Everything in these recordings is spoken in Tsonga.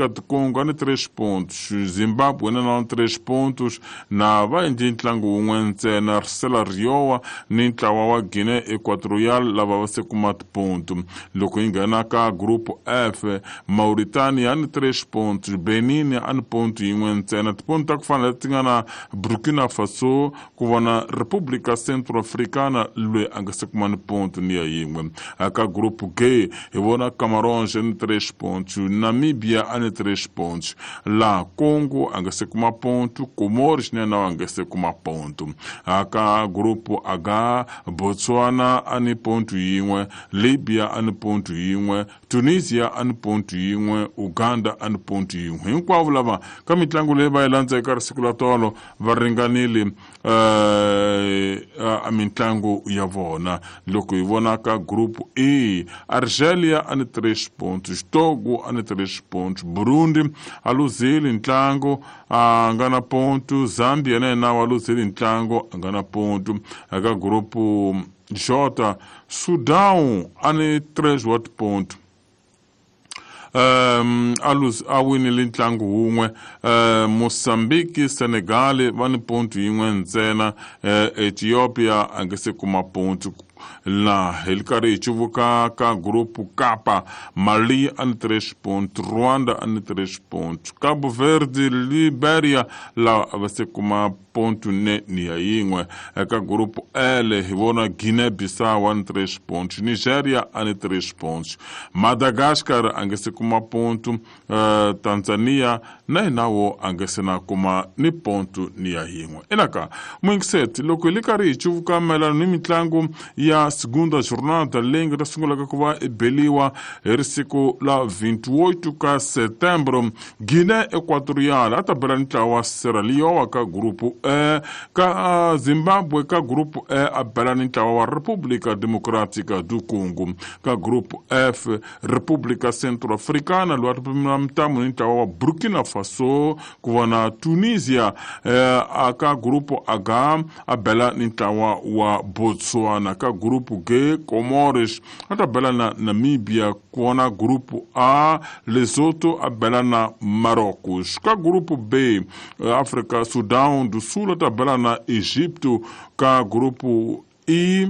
Democrática do Congo ni 3 pontos, Zimbabwe na na 3 pontos, na va endle ntlangu wun'we ntsena. Sierra Leone ni ntlawa wa Guinea Equatorial lava va se kuma tiponto. Loko yi nghena ka Group F, Mauritania ni 3 pontos, Benin a ni ponto yin'we ntsena, tiponto ta ku fana leti nga na Burkina Faso, ku vona República Centro-Africana loyi a nga se kuma ni ponto ni ya yin'we. Ka Group G hi vona Camarões ni 3 pontos, Namibia a ni 3 pontos, la Congo a nga se kuma ponto, Comores na yena a nga se kuma ponto. Ka Group H, Botswana a ni ponto yin'we, Libya a ni ponto yin'we, Tunisia a ni ponto yin'we, Uganda a ni ponto yin'we. Hinkwavo lava ka mitlangu leyi va yi landza eka risiku la tolo va ringanile a mitlangu ya vona. Loko hi vona ka Group E, Argelia a ni 3 pontos, Togo a ni 3 pontos, Burundi a luzile ntlangu, a nga na ponto, Zambia na yena wa luzile ntlangu, a nga na ponto. Eka Group J, Sudan a ni 3 wa tiponto, a winile ntlangu wun'we. Mozambique, Senegal va ni ponto yin'we ntsena, Ethiopia a nge se kuma ponto. La hi ri karhi hi cuvuka ka Group K, Mali a ni 3 ponto, Rwanda a ni 3 ponto, Cabo Verde, Liberia lawa a va se kuma ponto ne ni ya yin'we. Eka Group L hi vona Guinea Bissau a ni 3 pontos, Nigeria a ni 3 pontos, Madagascar a nge se kuma ponto, Tanzania na hinawo a nge se na kuma ni ponto ni ya yin'we. Enaka muyingiseti, loko hi le karhi hi cuvuka mayelana ni mitlangu ya segunda jornada leyi nga ta sungulaka ku va i beliwa hi risiku la 28 ka setembro, Guinea Equatorial a ta bela ntlawa wa Sierra Leone ka Group E, ka Zimbabwe ka Group E a bela ni ntlawa wa República Democrática do Congo, ka Group F República Centro-Africana loyi a ta pimela mitamu ni ntlawa wa Burkina Faso, ku vona Tunisia a ka Group H a bela ni ntlawa wa Botswana, ka Group G Comores a ta bela na Namibia, ku vona Group A Lesotho a bela na Marocos, ka Group B Africa Sudan do Sul a ta bela na Egipto, ka Group E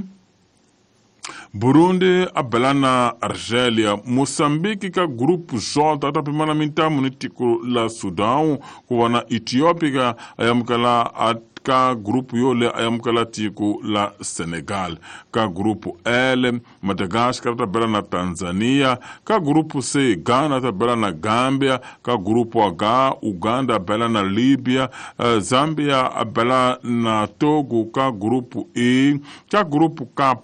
Burundi a bela na Argelia, Mozambique ka Group J a ta pimana mintamu ni tiko la Sudan, ku vona Ethiopia a amukela a ka group yole a amukela tiko la Senegal, ka Group L Madagascar ta bela na Tanzania, ka Group C Ghana ta bela na Gambia, ka Group H Uganda bela na Libya, Zambia a bela na Togo ka Group E, ka Group K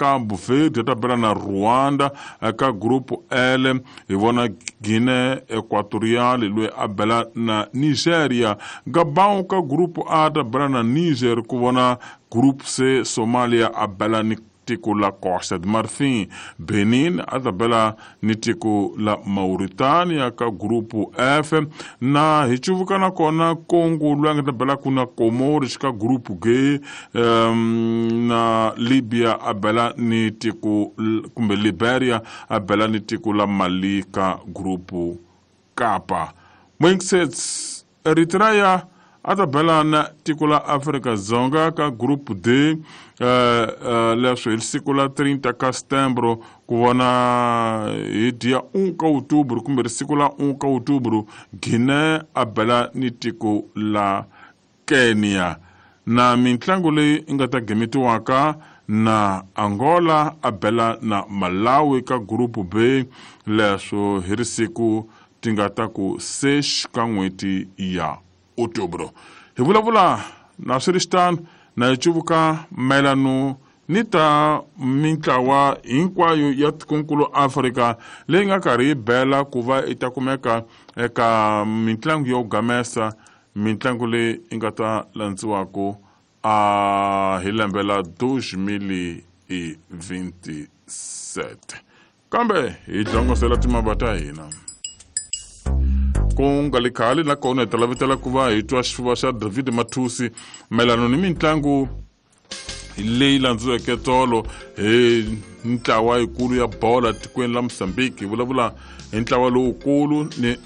Cabo Verde ta bela na Rwanda, ka Group L hi vona Guinea Equatorial loyi a bela na Nigeria, Gabon ka Group A ta bela na Niger, ku vona Group C Somalia a bela ni tiko la Costa de Marfin, Benin a ta bela ni tiko la Mauritania ka Group F, na hi cuvuka na kona Congo loyi a nga ta bela ku na Comores ka Group G, na Libya a bela ni tiko kumbe Liberia a bela ni tiko la Mali ka Group K. Moingsets, Eritrea a ta bela na tiko la Afrika Dzonga ka Group D, leswo hi siku la 30 ka setembro, ku vona hi dia 1 ka outubro kumbe risiku la 1 ka outubro, Guinea a bela ni tiko la Kenya. Na mitlangu leyi nga ta gemetiwaka na Angola a bela na Malawi ka Group B, leswo hi risiku ti nga ta ku 6 ka n'hweti ya outubro. Hi vulavula na swi ri xitano na hi cuvuka mayelano ni ta mintlawa hinkwayo ya tikonkulu Afrika leyi nga karhi yi bela ku va i ta kumeka eka mitlangu yo gamesa, mitlangu leyi yi nga ta landziwaka a hi lembe la 2027. Kambe hi hlongosela timava ta hina ku nga li khale, nakona hi ta lavetela ku va hi twa xifuva xa David Mathusi mayelano ni mitlangu leyi landziweke tolo hi ntlawa yikulu ya bola tikweni la Mozambique. Hi vulavula hi ntlawa lowukulu ni